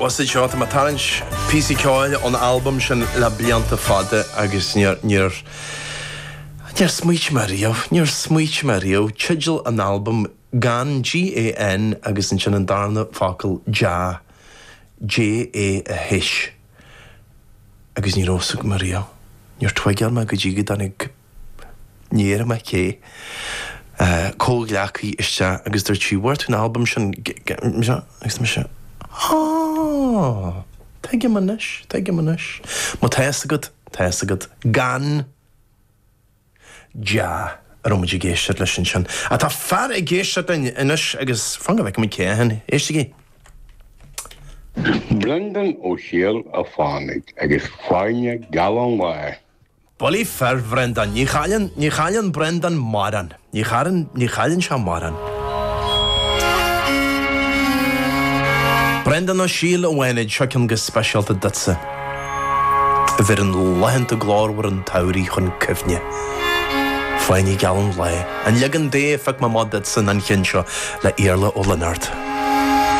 Bhuel seo, tá mé ag tarraingt píosaí ceoil ón albam sin le blianta fada agus níor, níor, níor smaoitigh mé riamh, níor smaoitigh mé riamh, teideal an albaim Gan, G-A-N, agus ansin an darna focal Jah, J-A-H, agus ní raibh fhios agam riamh, níor tuigeáil mé go dtí go dtáinig, ní déarfaidh mé cé, comhghleacaí isteach agus dúirt sí, bhfuair tú an albam sin, agus mise, Á, tuigim anois, tuigim anois. Má tá fhios agat, tá fhios agat, gan. Jah, a raibh muid ag éisteacht leis ansin. Ach tá fear ag éisteacht linn anois agus fan go bhfeicfidh muid cé hé. Éistigí! Brendan Ó Siadhail a Fánaid agus Fáinne Geal an Lae. Bullaí fir, Bhrendan. Ní chailleann, ní chailleann Brendan mórán. Ní chailleann, ní chailleann sé mórán. Brendan Ó Siadhail a Fhánaid, seo ceann go speisialta duitse, a bheireann laethanta glórmhara an tsamhraidh chun cuimhne. Fáinne Geal an Lae. An leagan Dé a phioc mé amach duitse ná an ceann seo le Iarla Ó Lionáird.